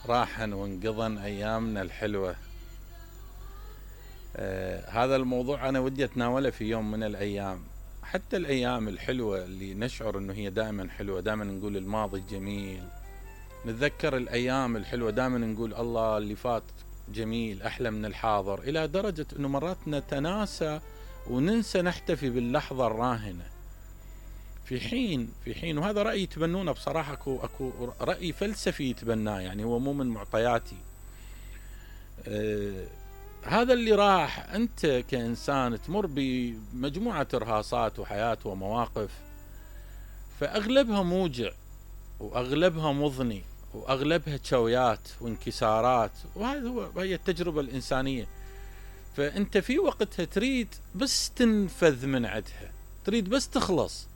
راحن وانقضن أيامنا الحلوة. هذا الموضوع أنا ودي أتناوله في يوم من الأيام. حتى الأيام الحلوة اللي نشعر أنه هي دائما حلوة، دائما نقول الماضي جميل، نتذكر الأيام الحلوة، دائما نقول الله اللي فات جميل أحلى من الحاضر، إلى درجة أنه مرات نتناسى وننسى نحتفي باللحظة الراهنة. في حين وهذا رأي يتبنونه بصراحة، أكو رأي فلسفي يتبناه، يعني هو مو من معطياتي. هذا اللي راح أنت كإنسان تمر بمجموعة إرهاصات وحياة ومواقف، فأغلبها موجع وأغلبها مضني وأغلبها تشويات وانكسارات، وهي التجربة الإنسانية. فأنت في وقتها تريد بس تنفذ من عدها، تريد بس تخلص.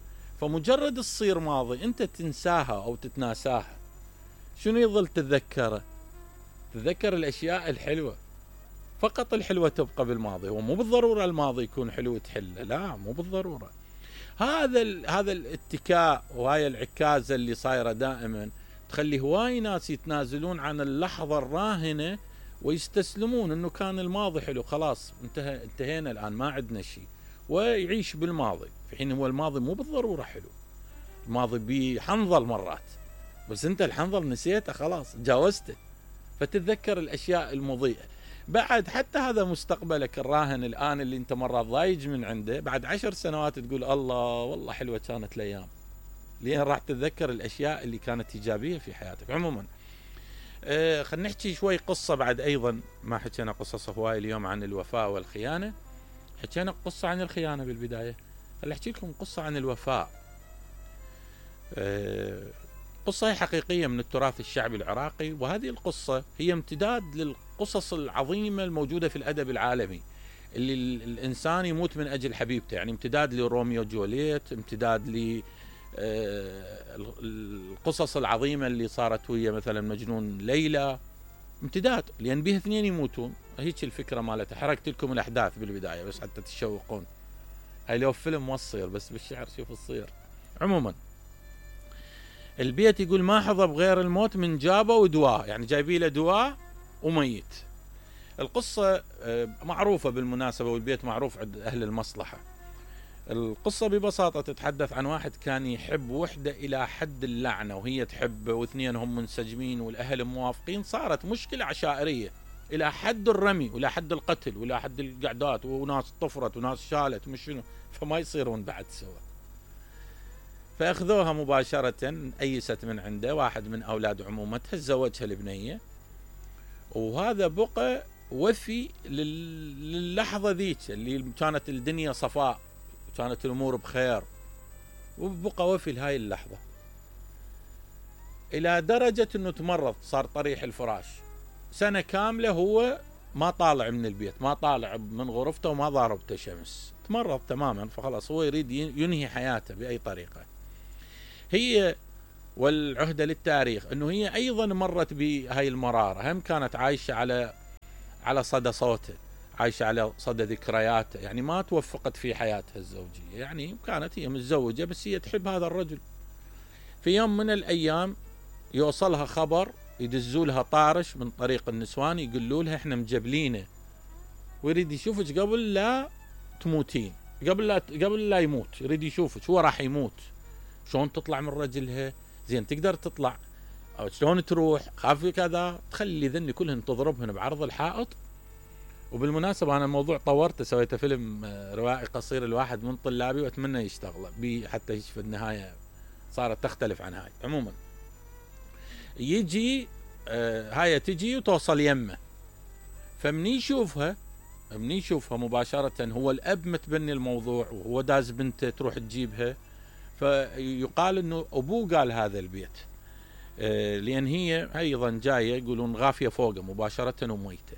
فمجرد تصير ماضي أنت تنساها أو تتناساها، شنو يظل تتذكره؟ تتذكر الأشياء الحلوة، فقط الحلوة تبقى بالماضي. ومو بالضرورة الماضي يكون حلو تحله، لا مو بالضرورة. هذا الاتكاء وهاي العكازة اللي صايرة دائما تخلي هواي ناس يتنازلون عن اللحظة الراهنة ويستسلمون انه كان الماضي حلو، خلاص انتهينا الان ما عندنا شيء، ويعيش بالماضي. في حين هو الماضي مو بالضرورة حلو، الماضي بحنظل مرات، بس انت الحنظل نسيته خلاص جاوزته، فتتذكر الاشياء المضيئة. بعد حتى هذا مستقبلك الراهن الآن اللي انت مرات ضايج من عنده، بعد 10 سنوات تقول الله والله حلوة كانت الأيام، لين راح تتذكر الأشياء اللي كانت إيجابية في حياتك. عموما خلينا نحكي شوي قصة بعد. أيضا ما حكينا قصص هواي اليوم عن الوفاء والخيانة، حكينا قصة عن الخيانة بالبداية، خلينا أحكي لكم قصة عن الوفاء. قصة حقيقية من التراث الشعبي العراقي، وهذه القصة هي امتداد للقصص العظيمة الموجودة في الأدب العالمي، اللي الإنسان يموت من أجل حبيبته، يعني امتداد لروميو جولييت، امتداد للقصص العظيمة اللي صارت ويا مثلا مجنون ليلى، امتداد، لأن بها اثنين يموتون. هيك الفكرة مالتها. حركت لكم الأحداث بالبداية بس حتى تشوقون. هاي لو فيلم وصير، بس بالشعر شوف الصير. عموما البيت يقول ما حظى بغير الموت من جابه ودواه، يعني جايبي له دواء وميت. القصة معروفة بالمناسبة، والبيت معروف عند أهل المصلحة. القصة ببساطة تتحدث عن واحد كان يحب وحدة إلى حد اللعنة، وهي تحبه، واثنين هم منسجمين والأهل موافقين. صارت مشكلة عشائرية إلى حد الرمي وإلى حد القتل وإلى حد القعدات، وناس طفرت وناس شالت ومش شنو، فما يصيرون بعد سوا. فأخذوها مباشرة، أيست من عنده واحد من أولاد عمومتها، تزوجها البنية، وهذا بقى وفي للحظة ذيك اللي كانت الدنيا صفاء، كانت الأمور بخير، وبقى وفي لهاي اللحظة، إلى درجة أنه تمرض، صار طريح الفراش. سنة كاملة هو ما طالع من البيت، ما طالع من غرفته، وما ضاربته شمس، تمرض تماما. فخلاص هو يريد ينهي حياته بأي طريقة. هي والعهدة للتاريخ أنه هي أيضا مرت بهاي المرارة، هم كانت عايشة على صدى صوته، عايشة على صدى ذكرياته، يعني ما توفقت في حياتها الزوجية، يعني كانت هي متزوجة بس هي تحب هذا الرجل. في يوم من الأيام يوصلها خبر، يدزولها طارش من طريق النسوان، يقولوا لها احنا مجبلينه ويريد يشوفك قبل لا تموتين، قبل لا يموت، يريد يشوفك، هو راح يموت. شلون تطلع من رجلها؟ زين تقدر تطلع او شلون تروح؟ خافي كذا، تخلي ذني كلهن تضربهن بعرض الحائط. وبالمناسبة أنا الموضوع طورته، سويته فيلم روائي قصير لواحد من طلابي، وأتمنى يشتغل بي حتى في النهاية صارت تختلف عن هاي. عموما يجي هاي تجي وتوصل يمه، فمني يشوفها مباشرة، هو الأب متبني الموضوع وهو داز بنته تروح تجيبها، فيقال انه ابوه قال هذا البيت، لان هي ايضا جايه يقولون غافيه فوقه مباشره وميته.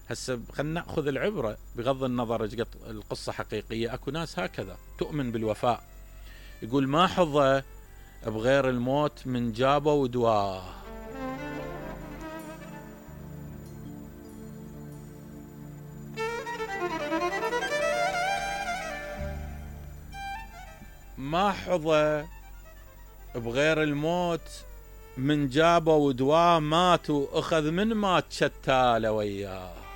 هسه خلينا ناخذ العبره بغض النظر ايش القصه حقيقيه. اكو ناس هكذا تؤمن بالوفاء، يقول ما حظى بغير الموت من جابه ودواه. ما حظى بغير الموت من جابوا دواء مات واخذ من مات شتاله وياه.